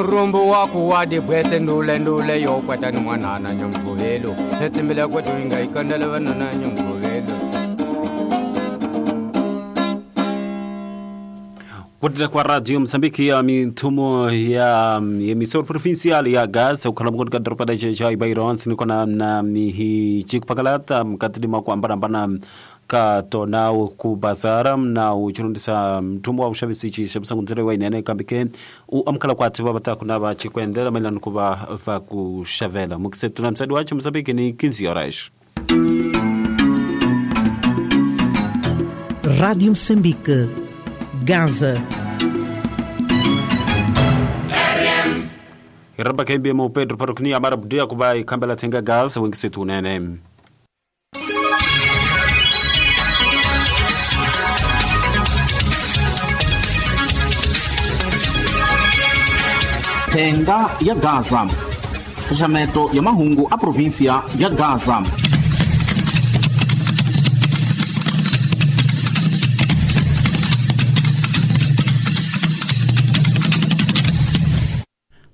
Rumbu waku wa dibwese ndule ndule yo kwata ni mwanana nyamgovelo setsimile kwetu inga ikandele vanana nyamgovelo. Kutila kwa Radio Mozambique ya mitumo ya emissor provincial ya Gaza ukhala mukoti ka doropa da cha Ibairon sinikona na mihi chikupakalata mkatili makuambarambana ka tona ku bazara na uchirundisa mtumbo wa ushavisi chishabisangunzire wa inene kambike u amkhala kwati babata kunaba chikwendela mailano kuba va kushavela mukisetuna msadi wacho Mozambique ni 15 horas. Radio Mozambique, Gaza. Iraba kembe mo Pedro Parokni amara budia kuba ikambela tenga Gaza wengisetunene. Thenga ya Gaza. Xaxameto ya mahungu a província ya Gaza.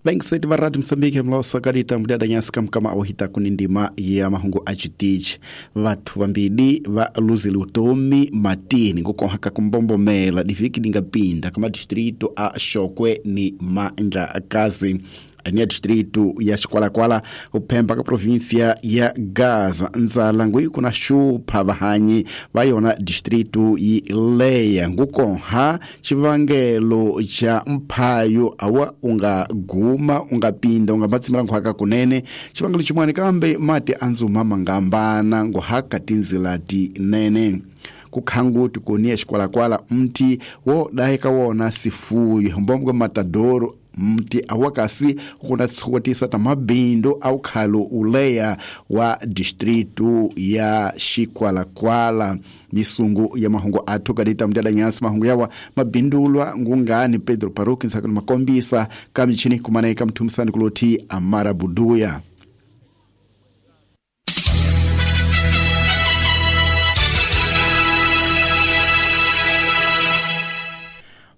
Bengiseti va Radio Mozambique mloso kadita mudada nyasika mkama awahita kunindima ya mahungu achitichi. Vathu vambili va luzile utomi matini ngukohaka kumbombomela diviki dingapinda kama distrito a Xokwe ni Mandlakazi. Ania distrito ya Xikwalakwala uphemba ka província ya Gaza. Ndzala nguyi kuna xupha vahanyi va yona distrito yi leya ngukoha xivangelo xa mphayo awa unga guma unga pinda unga matsimela nguhaka kunene xivangelo xin'wana kambe mati a ndzuma mangambana nguhaka tindzila tinene. Kukhanguti koniya Xikwalakwala mti wo dayeka wona sifuyo mbombwe matadoro mti awakasi kuna tsukotisa ta mabindo au khalo uleya wa distrito ya Xikwalakwala. Misungu ya mahungu athu kadita mdada nyasi mahungu yawa mabindulwa ngungani Pedro Paruki nsakano makombisa kamichini kumanaika mtumisani kuloti Amara Buduya.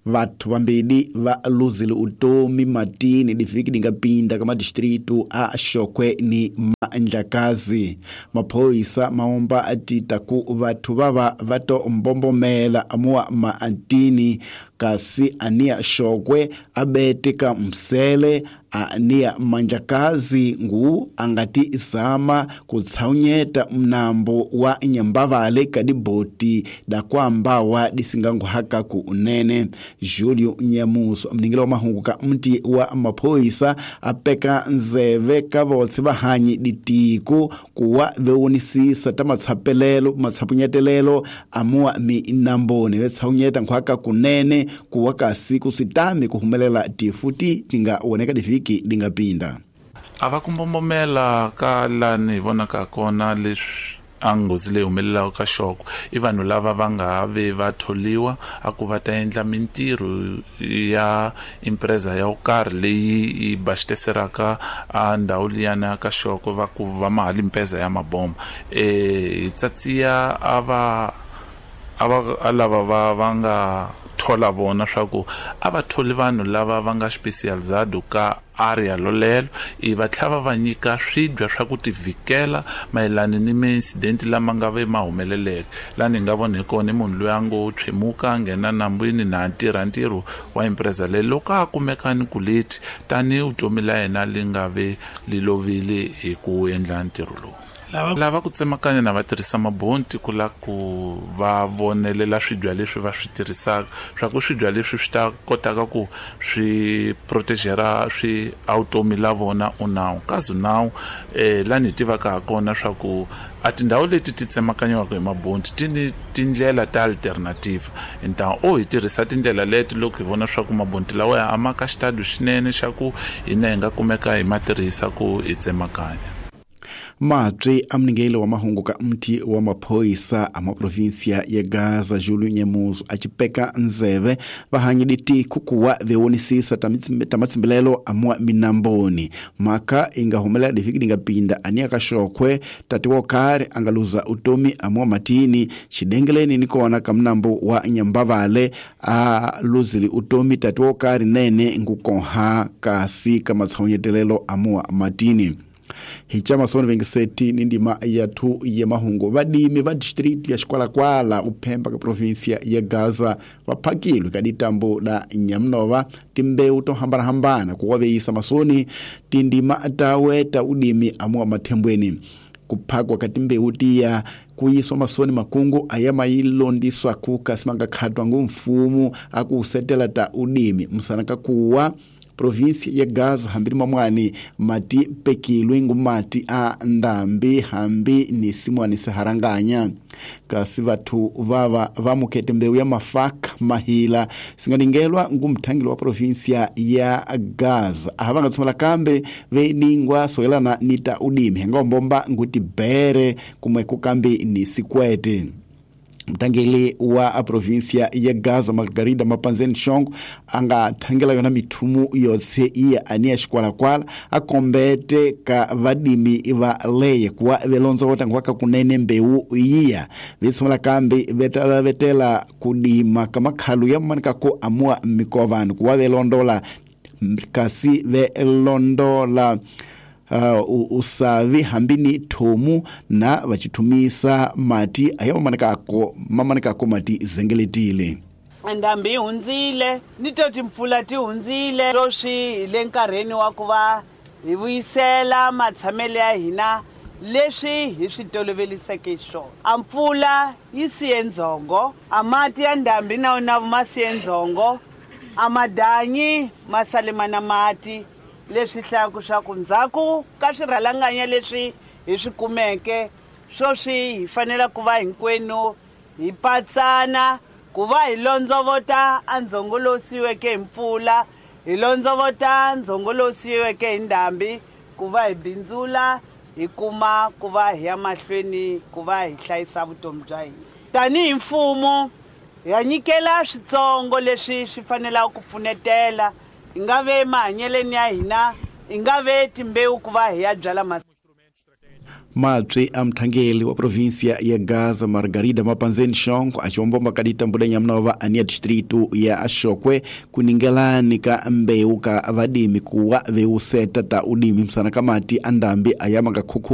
Vathu vambili va luzile utomi matini diviki dingapinda kama distrito a Xokwe ni Mandlakazi. Maphoyisa maomba atita ku vathu vava vato mbombomela amuwa maatini kasi ania Xokwe abete ka msele ania Mandlakazi ngu angati zama kutsaunyeta mnambo wa Nyambavale kadiboti da kwamba wa disingangu haka ku unene. Julio Nyamuso mningila wa mahungu ka mti wa maphoyisa apeka nzeve ka votse vahanyi ditiko kuwa vewonisisa ta matsapelelo matsapunyetelelo amuwa minamboni vetsaunyeta nkhwaka kunene kuwa kasi kusitami kuhumelela tifuti tinga woneka diviki dingapinda. Ava kumbombomela ka lani vonaka kona leswi a nghozi leyi humelelaka ka Xokwe i vanhu lava va nga ve va tholiwa a ku va ta endla mintirho ya empresa ya karhi leyi yi baxiteseraka a ndhawu liyana ka Xokwe va ku va mahali mpeza ya mabomba. Hi tsatsiya a va lava va nga thola vona swa ku a va tholi vanhu lava va nga specializado ka area lolelo i va tlhava va nyika swibya swa ku tivikela mayelana ni mi-incident lama nga ve ma humeleleke. Lani hi nga vona hi kona i munhu loyi a ngo tshwemuka a nghena nambwini na tirha ntirho wa empresa leyi loko a kumeka ni kuleti tanihi vutomi la yena li nga ve li lovile hi ku endla ntirho lowu. Lava ku tsemakanya na va tirhisa mabonti ku la ku va vonelela swibya leswi va swi tirhisaka swa ku swibya leswi swi ta kotaka ku swi protegera swi automi la vona unawu kazi nawu lani hi tivaka ha kona swa ku a tindhawu leti ti tsemakanyiwaka hi mabonti ti ni tindlela ta alternative nta o hi tirhisa tindlela leti loko hi vona swa ku mabonti lawa ya ama ka xitado xinene xa ku hina hi nga kumeka hi ma tirhisa ku hi tsemakanya. Mabyi amningeli wa mahungu ka mti wa maphoyisa a maprovinsia ya Gaza Julio Nyemuzo a cipeka nzeve vahanyi tiko kuwa vewonisisa ta matsimbilelo amwa minamboni mhaka inga humelela diviki dinga pinda ani akaxokhwe tati wo karhi a nga luza utomi amwa matini xidengeleni ni kona ka mnambo wa Nyambavale a luzile utomi tati wo karhi nene ngukonha kasi ka matshonyetelelo amwa matini. Hi chama soni vengiseti ni ndima ya 2 ya mahungu vadimi va district ya Xikwalakwala uphemba ka provinsia ya Gaza vaphakilwe ka ditambo la Nyamnova timbewu to hambanahambana ku waveyisa masoni tindima tawe ta udimi amuwa mathembweni. Kuphakwa ka timbewu tiya kuyiswa masoni makungu aya mayilondiswa ku kasi mangakhatwa ngu mfumo aku setela ta udimi musana ka kuwa provinsia ya Gaza hambi mamwani mati pekilwe ngumati a ndambi hambi ni simwani seharanganya kasi vathu vava vamukete mbewu ya mafaka mahila singaningelwa ngumthangeli wa provinsia ya Gaza aha vangatsumela kambe veningwa soyelana ni ta udimi hengombomba nguti bere kumwe kukambi ni sikwete. Mtangeli wa provinsia ya Gaza Margarida Mapanzeni Shongo anga thangela yona mithumu yotse iya ani ya Xikwalakwala akombete ka vadimi va leye kuwa velonzo wotangwa ka kunene mbewu iya vitsumela kambi vetala vetela kudima kamakhalu ya manika ko amua mikovano kuwa velondola kasi velondola usavi hambini thomu na vachithumisa mati aya mamanikako mati zengeletile. Ndambi yi hundzile ni to timpfula ti hundzile sweswi hi le nkarhini wa ku va hi vuyisela matshamelo ya hina leswi hi swi toloveliseke swona. A mpfula yi siye ndzhongo, a mati ya ndhambi na wona ma siye ndzhongo, a madanyi ma sale ma na mati leswi hlayaka swa ku ndzhaku ka swirhalanganya leswi hi swi kumeke sweswi hi fanele ku va hinkwenu hi patsana ku va hi londzovota a ndzhongo lowu siyiweke hi mpfula, hi londzovota ndzhongo lowu siyiweke hi ndhambi ku va hi bindzula hi kuma ku va hi ya mahlweni ku va hi hlayisa vutomi bya hina. Tanihi mfumo hi nyikela switsongo leswi swi fanelaka ku pfunetela hi nga ve mahanyeleni ya hina, hi nga ve timbewu ku va hi ya byala. Mabyi a mthangeli wa provinsia ya Gaza Margarida Mapanzeni Shongo achiwombomba kaditambo la Nyamnova ani ya distritu ya Axokwe kuningelani ka mbewu ka vadimi kuwa veuseta ta udimi msana kamati andambi ayama kakhuku.